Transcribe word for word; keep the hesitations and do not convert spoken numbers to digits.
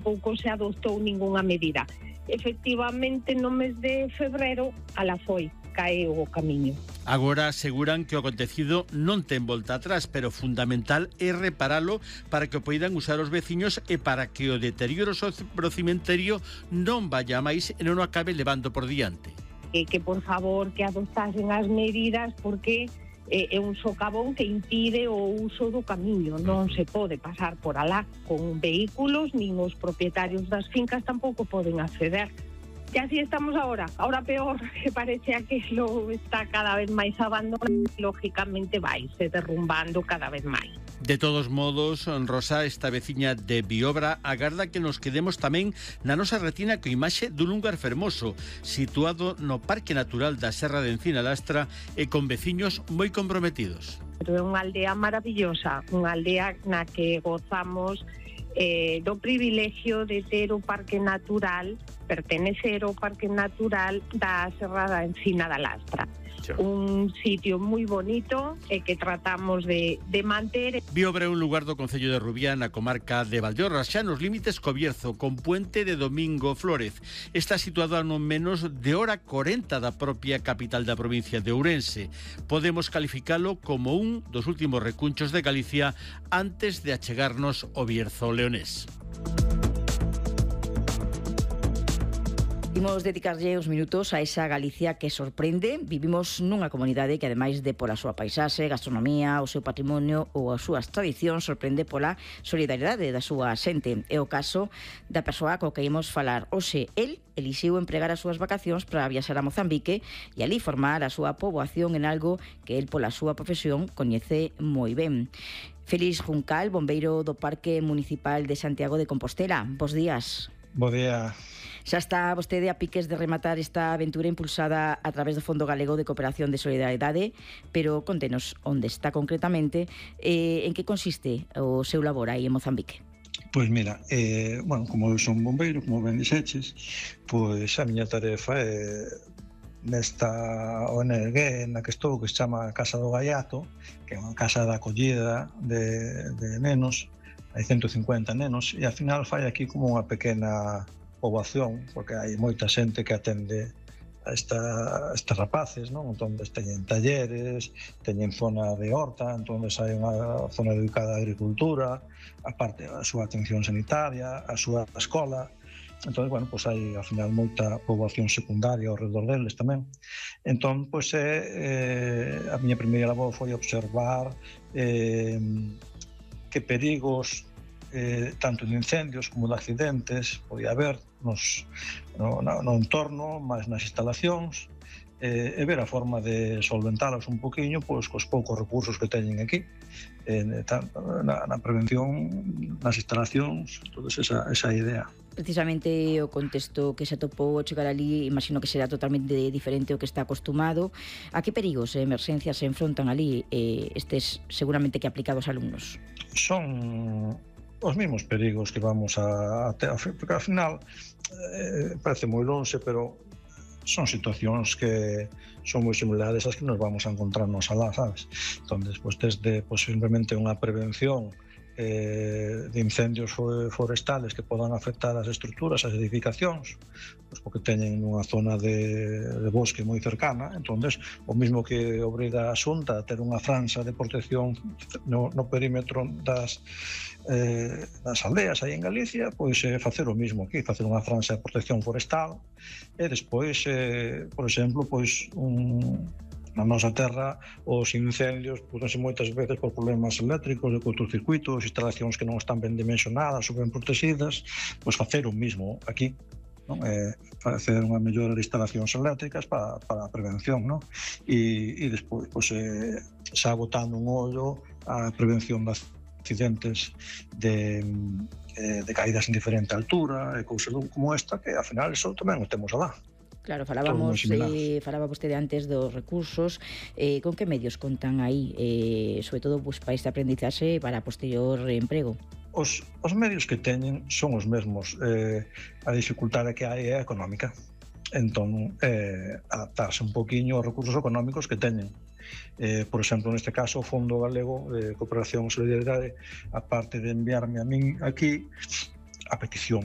tampouco se adoptou ningunha medida. Efectivamente, no mes de febrero, ala foi, caeu o camiño. Agora aseguran que o acontecido non ten volta atrás, pero fundamental é reparalo para que o poidan usar os veciños e para que o deterioro pro cemiterio non vaya máis e non o acabe levando por diante. E que, por favor, que adoptasen as medidas porque é un socavón que impide o uso do camiño. Non se pode pasar por alá con vehículos, nin os propietarios das fincas tampouco poden acceder. E así estamos ahora, ahora peor, que parece que lo está cada vez máis abandonado, lógicamente vai se derrumbando cada vez máis. De todos modos, Rosa, esta veciña de Biobra, agarda que nos quedemos tamén na nosa retina co imaxe dun lugar fermoso, situado no Parque Natural da Serra de Encina Lastra e con veciños moi comprometidos. É unha aldea maravillosa, unha aldea na que gozamos eh, do privilegio de ter o Parque Natural, pertenecer ao Parque Natural da Serra da Encina da Lastra. Un sitio moi bonito e que tratamos de, de manter. Biobra é un lugar do concello de Rubiá, na comarca de Valdeorras, xa nos límites co Bierzo, con puente de Domingo Flórez. Está situado a non menos de hora corenta da propia capital da provincia de Ourense. Podemos calificalo como un dos últimos recunchos de Galicia antes de achegarnos ao Bierzo leonés. Imos dedicarlle uns minutos a esa Galicia que sorprende. Vivimos nunha comunidade que, ademais de pola súa paisaxe, gastronomía, o seu patrimonio ou as súas tradicións, sorprende pola solidariedade da súa xente. É o caso da persoa co que imos falar hoxe. El elixiu empregar as súas vacacións para viaxar a Mozambique e ali formar a súa poboación en algo que el, pola súa profesión, coñece moi ben. Félix Juncal, bombeiro do Parque Municipal de Santiago de Compostela. Bos días. Bo día. Xa está vostede a piques de rematar esta aventura impulsada a través do Fondo Galego de Cooperación de Solidariedade, pero contenos onde está concretamente e en que consiste o seu labor aí en Mozambique. Pois mira, eh, bueno, como eu son bombeiro, como ben dixeches, pois a miña tarefa é nesta O N G na que estou, que se chama Casa do Gaiato, que é unha casa de acollida de, de nenos, hai ciento cincuenta nenos, e ao final fai aquí como unha pequena poboación, porque hai moita xente que atende a esta, estes rapaces, non? Entón, teñen talleres, teñen zona de horta, entón hai unha zona dedicada á agricultura, aparte a súa atención sanitaria, a súa escola. Entón, bueno, pois hai, ao final, moita poboación secundaria ao redor deles tamén. Entón, pois, é, eh, a miña primeira labor foi observar eh, que perigos Eh, tanto de incendios como de accidentes podía haber nos, no, no, no entorno, máis nas instalacións, eh, e ver a forma de solventalas un poquinho pois, cos poucos recursos que teñen aquí, eh, na, na prevención, nas instalacións, toda esa, esa idea. Precisamente o contexto que se atopou ao chegar ali, imagino que será totalmente diferente ao que está acostumado. A que perigos e emerxencias se enfrontan ali eh, estes seguramente que aplicados alumnos? Son os mesmos perigos que vamos a, a ter, porque ao final eh, parece moi lonxe, pero son situacións que son moi similares ás que nos vamos a encontrarnos alá, sabes? Entón, despois desde pues, simplemente unha prevención eh, de incendios forestales que podan afectar as estruturas, as edificacións, pues porque teñen unha zona de, de bosque moi cercana. Entón, o mismo que obriga a Xunta a ter unha franxa de protección no, no perímetro das Eh, nas aldeas aí en Galicia, pois eh, facer o mismo aquí, facer unha franxa de protección forestal e despois, eh, por exemplo, pois un, na nosa terra os incendios producense moitas veces por problemas eléctricos, de cortocircuitos, instalacións que non están ben dimensionadas ou ben protegidas, pois facer o mismo aquí, non? Eh, facer unha mellora de instalacións eléctricas para, para a prevención, non? E, e despois, pois, eh, xa botando un ollo a prevención das accidentes de, de caídas en diferente altura e cousas como esta, que ao final eso tamén o temos alá. Claro, falábamos, eh, falaba vostede antes dos recursos, eh, con que medios contan aí, eh, sobre todo pues, para este aprendizaxe para posterior emprego? Os, os medios que teñen son os mesmos, eh, a dificultade que hai é económica, entón eh, adaptarse un poquinho aos recursos económicos que teñen. Eh, por exemplo, neste caso, o Fondo Galego de Cooperación e Solidariedade, aparte de enviarme a min aquí a petición